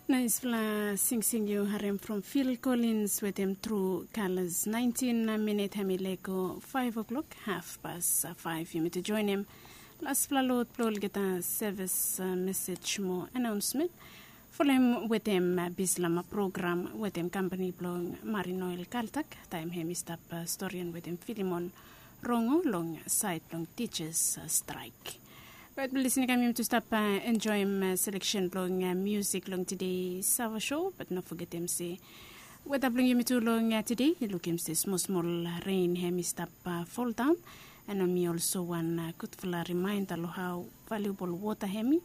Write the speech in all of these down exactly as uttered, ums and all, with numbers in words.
Naispela singsing yu harim from Phil Collins wetem True Colors. Naintin minit hem i lego five o'clock, haf pas five. Yumi tu joinim laspela lot bilong olgeta sevis mesej mo anaunsimit. Folem wetem bislama program wetem kampani bilong Marine Oil Kaltak taim hem i stap storian wetem Filimon Rongo long sait bilong teachers straik. Bat bilong lisin kam yumi tu stap enjoim selection bilong musik long today Sava Show. Bat no fogetim se weda bilong yumi tu long today i lukim se smol smol rein hem i stap foldaun. And mi olso wan gutfala rimainda long hau valuable wota hem i,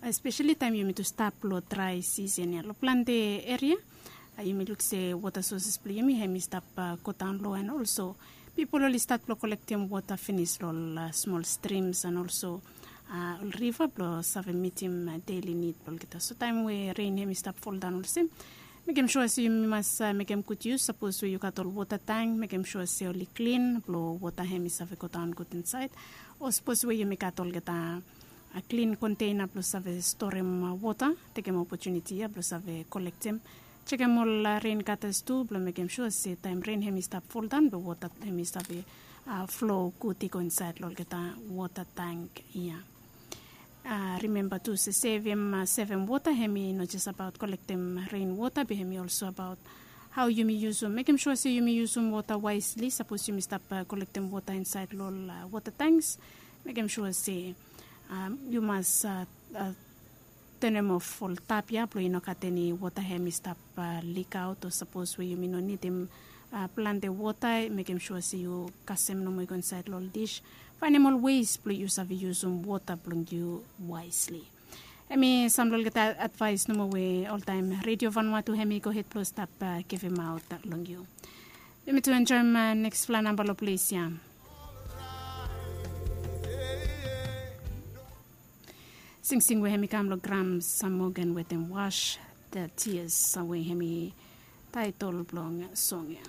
especially taim yumi tu stap long drai season ya long planti eria. Yumi luk se wota sources bilong yumi hem i stap go daun lo, and olso pipol oli stat bilong kolektim wota finis long ol smol strims and olso ol riva bilong save mitim deli nid bilong olgeta. So taim we rein hem i stap foldaun olsem, mekim sua se yumi mas mekim gut yus. Sapos we yu gat ol wota tang, mekim sua se oli klin bilong wota hem i save go daun gut insait. O sapos we yumi gat olgeta klin konteina bilong save storim wota, tekim opotuniti ya bilong save kolektim. Sekem ol rein gatas tu bilong mekim sua se taim rein hem i stap foldaun bilong wota hem i save flo gut i go insait long olgeta wota tank ya. Rimemba tu se sevim sevim wota hem i no jes abaot kolektim rein wota be hem i olso abaot hau yumi yusum, mekim sua se yumi yusum wota waisli. Sapos yumi stap kolektim wota insait long ol wota tanks, mekim sua se yu mas tenem of ol tap ya bilong i no gat eni wota hem i stap likaot, o sapos we yumi no nidim planti wota, mekim sua se yu kasem nomo i go insait long ol dish. Fainim ol weis bilong yu save yusum wota bilong yu waisli. Em i sam long olgeta advais nomo we oltaim redio vanua tu em i go hed bilong stap givimaut long yu. Yumi tu enjoim nekspela namba long ples ya. Singsing we em i kam long Grams Samogan wetem Wash the Tears we em i taitol bilong song ya.